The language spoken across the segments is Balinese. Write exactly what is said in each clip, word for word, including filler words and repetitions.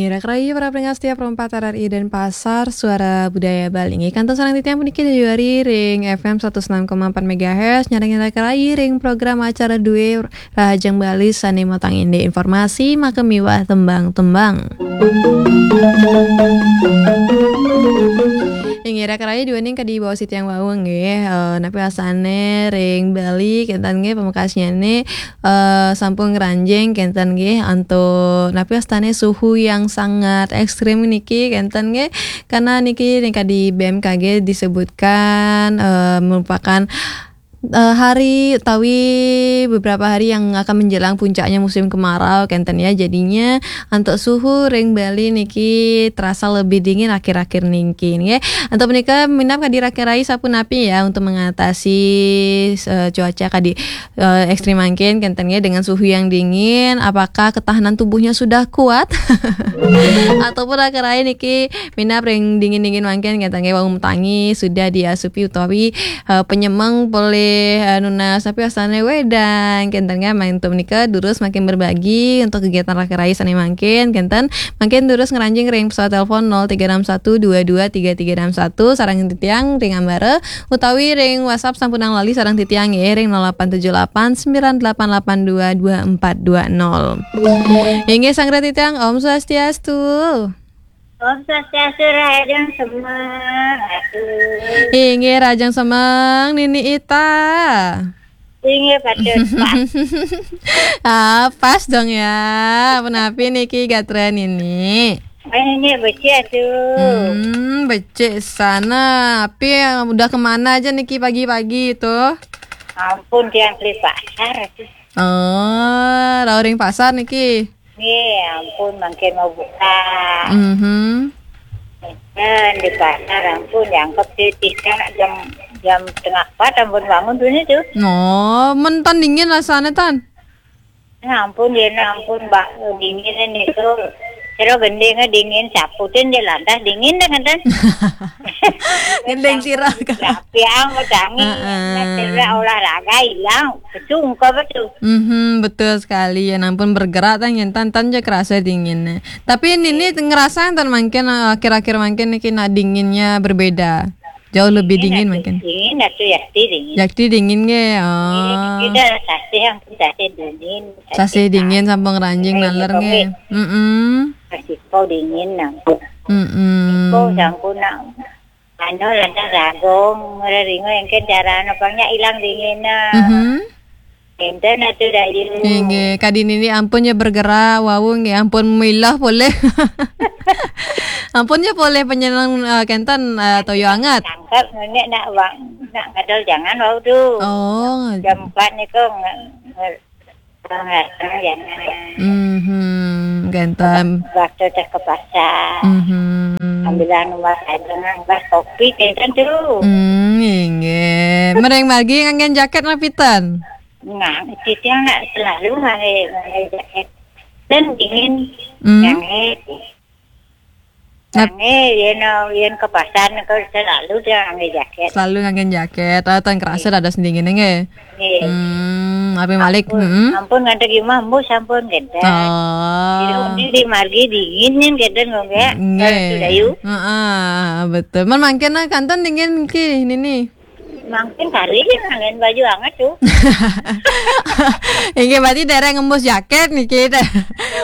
Ira kerayu para pendengar setia Pro empat R R I Denpasar, Suara Budaya Bali. Inggih, kantun sareng titiang puniki Dewi Wari ring F M seratus enam koma empat megahertz, nyarengin ira kerayu ring program acara Due Rahajeng Bali sane matang indik informasi, maka miwah tembang-tembang. Inggih, ira kerayu duaning kadi baos titiang wau nggih, eh, napi wastane ring Bali, kenten nggih, pamekasnyane eh, sampun ngranjing kenten nggih antuk napi wastane suhu yang sangat ekstrim niki kenten nggih. Karena niki ning kadi B M K G disebutkan, eh, merupakan, eh, hari utawi beberapa hari yang akan menjelang puncaknya musim kemarau kenten ya. Jadinya antuk suhu ring Bali niki terasa lebih dingin akhir-akhir niki nggih. Antuk menika minab kadi ira kerayu sapunapi ya untuk mengatasi, eh, cuaca kadi eh, ekstrim mangkin kenten nggih dengan suhu yang dingin, apakah ketahanan tubuhnya sudah kuat? Ataupun ira kerayu niki minab ring dingin-dingin mangkin kenten nggih wau matangi sudah diasupi utawi, eh, penyemeng polih, eh, nunas napi wastane wedang kenten nggih. Antuk menika durus mangkin berbagi untuk kegiatan ira kerayu sane mangkin kenten. Mangkin durus ngranjing ring pesawat telepon nol tiga enam satu dua dua tiga tiga enam satu sareng titiang ring ambara utawi ring WhatsApp sampunang lali sareng titiang nggih ring nol delapan tujuh delapan sembilan delapan delapan dua dua empat dua nol. Inggih sang titiang, Om Swastiastu. Om Swastiastu, rahajeng semeng. Aduh. Inggih, rahajeng semeng Nini Ita. Inggih, patut pas. Ah, pas dong ya. Punapi niki gatra Nini? Eh, ini becik tuh. Hmm, becik sana. Tapi yang udah kemana aja niki pagi-pagi itu? Ampun, tiang beli pasar tuh. Oh, rauh ring pasar niki. Nggih, ampun, mangkin mau buka. Mhm. Dan di pasar, ampun, jangkep sih, tiga jam, jam tengah empat, ampun, bangun dulu tuh. Oh, men tan dingin rasanya, tan? Ya ampun, ya ampun, Mbak, dingin niku. Sira gending dingin, saputin dia lantas dingin deh, ngeten. Gending sira. Tapi yang mau tangi, Heeh. Sira olahraga hilang, kecungkap betul. Mhm, betul sekali. Ya ampun, bergerak tan, tan, tan aja kerasa dinginnya. Tapi ini ngerasa tan mangkin, eh, akhir-akhir mangkin niki nak dinginnya berbeda. Jauh lebih dingin mungkin. Dingin atuh, yakti dingin. Yakti dingin nggih. Oh. Kita sasih, ampun, sasih dingin. Sasih dingin sampun ngranjing naler nggih. Heeh. Masih kau dingin nang. Heeh. Kau sampun nang. Anu, lantas ragong, ngeringo engken cara anu pangnya ilang dingin nah. Mhm. Enten atuh, Dayu. Inggih, kadi nini ampun ya bergerak, wau nggih ampun milah polih. Ampun ya polih penyenang, eh, kenten, eh, toyo anget. Tangkap nenek nak wang, nak ngadol jangan wau tu. Oh. Jam empat niku nge-, nge-, nge-, jangan. Mhm, kenten. Waktu teh ke pasar. Mhm. Ambilan umat aja nang bas kopi kenten tu. Hmm, inggih. Mereng margi nganggen jaket napi tan? Nah, titiang nak selalu ngangge, ngangge jaket. Dan dingin, Hmm. Ngangge. Nap- Ngangge, yen, yen ke pasar niku selalu dia ngangge jaket. Selalu ngangge jaket. Ah, tan kerasa dados dingin nggih. Nggih. Hmm, ape malik? Ampun, hmm. Ampun ngadeg imah embus ampun genten. Oh. Ini di margi dingin yen genten kok nggih. Nggih. Dayu. Heeh, betul. Men mangkin nah kanten dingin ki nini. Mangkin kari ya, nganggen baju anget tuh. Inggih, berarti dereng ngembus jaket niki.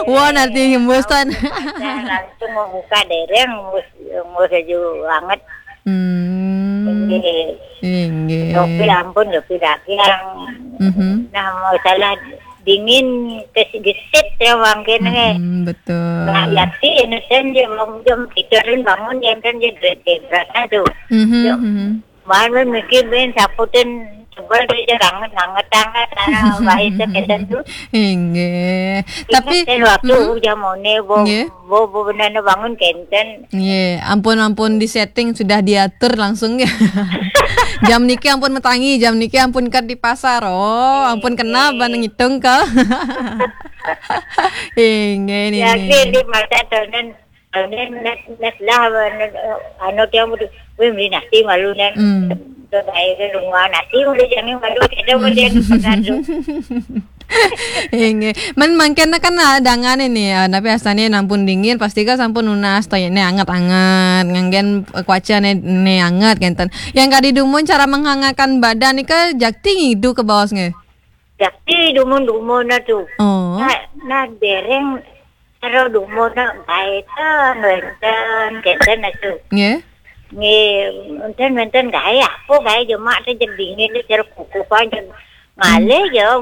Wah, nanti ngembus tan. Langsung mau buka dereng, ngembus, ngembus baju anget. Hmm. Inggih. Inggih. Topi ampun, topi dagang. Mhm. Nah, masalah dingin, kes-, gesit ya mangkin nggih. Mhm, betul. Nah, yakti enten dia bangun jam tiga bangun, dia kan dia berasa tuh. Mhm, Yo. Mhm. Malam mikir ben saputin sebel dia anget-anget, anget, karena baik itu keten tuh. Inggih. Tapi, ingat kan waktu hmm? Udah mau nih, bo, nggih. Bo, bo benar bangun kenten. Nggih, ampun, ampun di setting sudah diatur langsung ya. Jam niki ampun metangi, jam niki ampun kat di pasar. Oh, ampun kenal ban ngitung kal. Inggih, ini. Ya, di masa tahun Anu, nes, nes lah, anu, anu, dia mau di, weh, beli nasi malu, nen. Hmm. Terus akhirnya rumah nasi, udah jangan malu, kita mau dia di pasar tu. Inggih. Men mangkin kan, ah, dangan ini, ah, napi asané ampun dingin, pasti kan sampun nunas to, né anget-anget, nganggén, eh, kuaca né, né anget kénten. Yang kadi dumun cara menghangatkan badan nika jakti ngidu kabaos nggih. Jakti dumun-dumun na tu. Oh. Nah, nah, dereng cara dumun na gaé ten wénten, kénten na tu. Nggih. Nggih, wénten-wénten gaé apa gaé jemak téh jeg dingin téh cara kukupan jeg ngalih ya,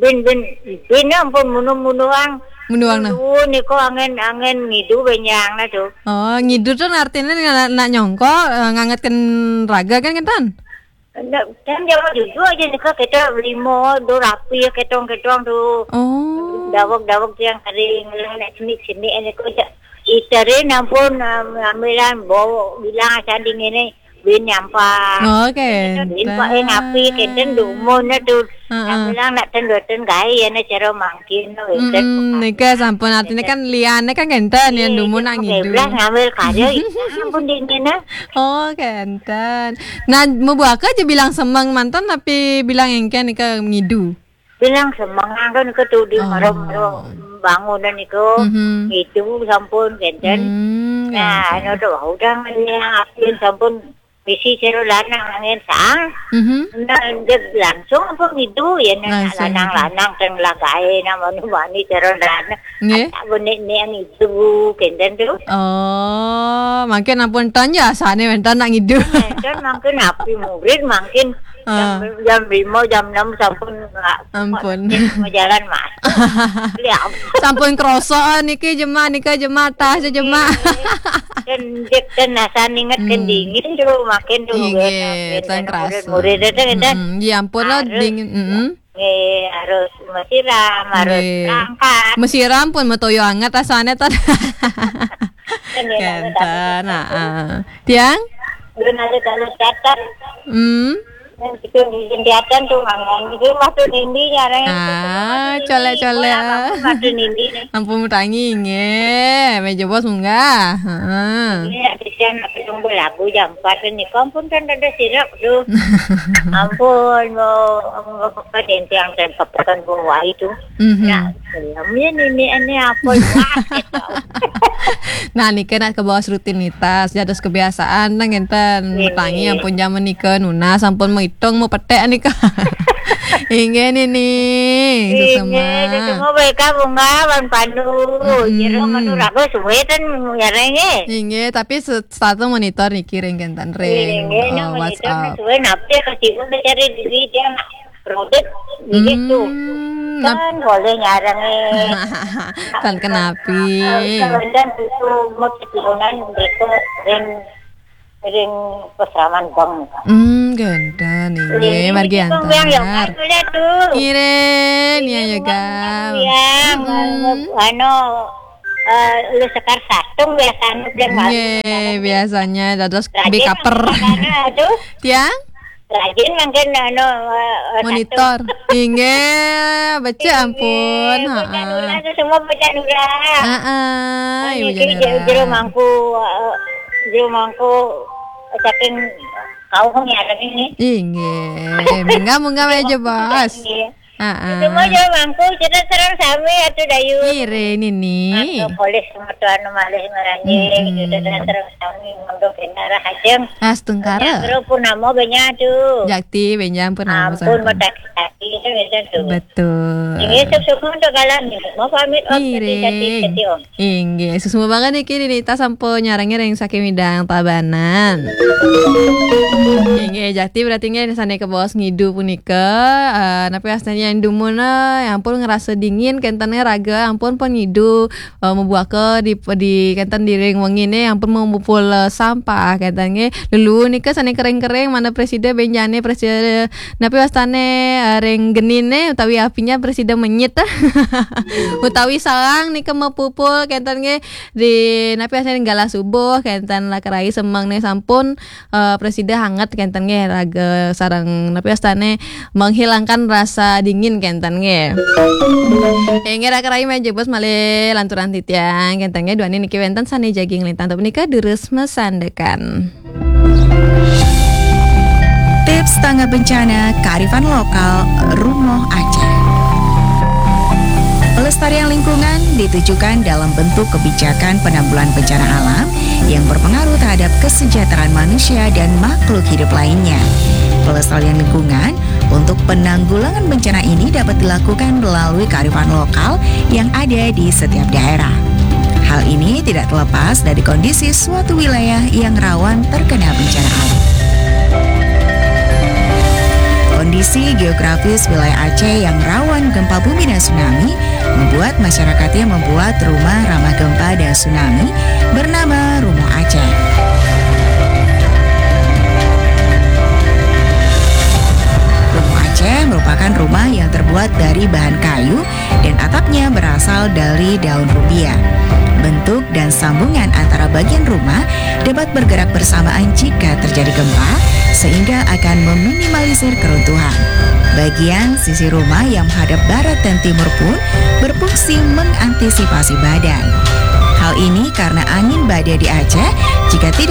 bin, bin, bin ampun munuh-munuhang. Munuhang nah. Duwun niku angin, angin ngidu bénjang na tu. Oh, ngidu tu artinya nak, nak nyongko, eh, ngangetken raga kan kénten? Ndak, kan jawa jujur aja nika kita lima do rapi ketong-ketong tu. Oh. Dawek-dawek yang kering lah nak sini-sini niku aja. Itarin ampun, um, ambilan bawa bilang sanding ini bin nyampah. Oke. Bin pak eh ngapi kenten dumun tu. Heeh. Bilang nak ten doten gaé ya na cara mangkin tu. Mm-mm, nika sampun artinya kan liane kan kenten yang dumun nak ngidu. Belas ngambil karya itu ampun dingin nah. Oh, kenten. Nah, mabuaka aja bilang semeng manten tapi bilang engken nika ngidu. Bilang semeng kan nika tu di maro-maro bangunan niku. Mhm. Ngidu sampun kenten. Hmm, nah, kenten. Anu tu udah ngene apian sampun bisi cara lanang angin sang. Mhm. Nah, dia langsung apa ngidu ya nak lanang-lanang teng lagae nak manu mani cara lanang. Nggih. Tak benik ni yang itu kenten tu. Oh, mangkin ampun ton ya asane wénten nak ngidu. Wénten mangkin api murid mangkin jam, jam lima, jam enam sampun nggak ampun. Mau jalan mas. Lihat. Sampun kroso niki jemak, nika jemak, tas jemak. Kendek dan nasan inget kendingin tu makin tu. Inggih, tan kerasa. Murid-murid itu kita. Mm-mm. Ya ampun lah dingin. Mm-mm. Nggih, harus mesiram, harus berangkat. Mesiram pun metoyo anget rasanya tan. Kenten, heeh. Tiang? Belum ada kalau datang. Hmm. Yang kita di jendatan tu mangan. Itu masuk dindi nyarang. Ah, colek-colek. Masuk dindi ni. Ampun mutangi nggih. Meja bos munggah. Heeh. Ini nak kesian nak tunggu lagu jam empat ni. Kau pun kan ada sirap tu. Ampun, mau apa dentiang dan papakan bawah itu. Mhm. Nah, belumnya nini ini apa? Nah, niki nak ke bawah rutinitas, dados kebiasaan nang enten. Tangi ampun jaman nika nunas ampun menghitung mau petek nika. Inggih nini. Inggih, sesama. Sesama baik bunga wan panu. Mm-mm. Jero manu raga suwe ten nyarenge. Inggih, tapi se- satu monitor niki ring kenten ring. Inggih, oh, WhatsApp. Suwe napi kasih pun cari diri dia. Produk gitu. Hmm, kan boleh nyarang eh. Tan kenapi. Kemudian itu mau keturunan mereka ring ring peseraman bang. Hmm, genten inggih margi antar. Ngiring ya yoga. Yang anu eh, lu sekar satung biasanya biasanya dados bikaper. Tiang? Rajin mangkin anu, eh, eh, monitor. Inggih, becik ampun. Inggih, Bu Janura tu semua Bu Janura. Heeh, Ibu Janura. Jero mangku, eh, jero mangku saking kaum yang ada ini. Inggih, munggah-munggah aja, Bos. Inggih. Heeh. Semua jero mangku, kita serang sami atuh Dayu. Ire nini. Atuh polis semua tuan malih maranjing, kita serang sami ngondo kenara hajeng. Astungkara. Jero purnama benya tu. Jakti benjang purnama. Ampun, mata kaki itu beda tu. Betul. Ini sukses untuk galan ni. Mau pamit om. Ire. Tadi, tadi, tadi, om. Inggih, suksma banget niki Dinita sampun nyarengin ring saking Midang Tabanan. Inggih, jakti berarti nggih sane kebaos ngidu punika, eh, napi astane yang dumun, eh, ya ampun ngerasa dingin kenten raga, ampun pun ngidu, eh, mabuaka di, di kenten di ring wengine, ya ampun mamupul, eh, sampah kenten nggih. Lulu nika sane kering-kering mana presida benjane presida napi wastane, eh, ring genine utawi apinya presida menyit. Utawi sarang nika mapupul kenten nggih di napi wastane galah subuh kenten lah kerai semeng ne sampun, eh, presida hangat kenten nggih raga sareng napi wastane menghilangkan rasa dingin kenten nggih. Inggih raga rai meja bos malih lanturan titiang kenten nggih duani niki wenten sane jagi nglintang tapi nika durus masandekan. Tips tanggap bencana kearifan lokal Rumoh Aceh. Pelestarian lingkungan ditujukan dalam bentuk kebijakan penanggulangan bencana alam yang berpengaruh terhadap kesejahteraan manusia dan makhluk hidup lainnya. Pelestarian lingkungan untuk penanggulangan bencana ini dapat dilakukan melalui kearifan lokal yang ada di setiap daerah. Hal ini tidak terlepas dari kondisi suatu wilayah yang rawan terkena bencana alam. Kondisi geografis wilayah Aceh yang rawan gempa bumi dan tsunami membuat masyarakatnya membuat rumah ramah gempa dan tsunami bernama Rumah Aceh. Rumah Aceh merupakan rumah yang terbuat dari bahan kayu dan atapnya berasal dari daun rubia. Bentuk dan sambungan antara bagian rumah dapat bergerak bersamaan jika terjadi gempa, sehingga akan meminimalisir keruntuhan. Bagian sisi rumah yang menghadap barat dan timur pun berfungsi mengantisipasi badai. Hal ini karena angin badai di Aceh, jika tidak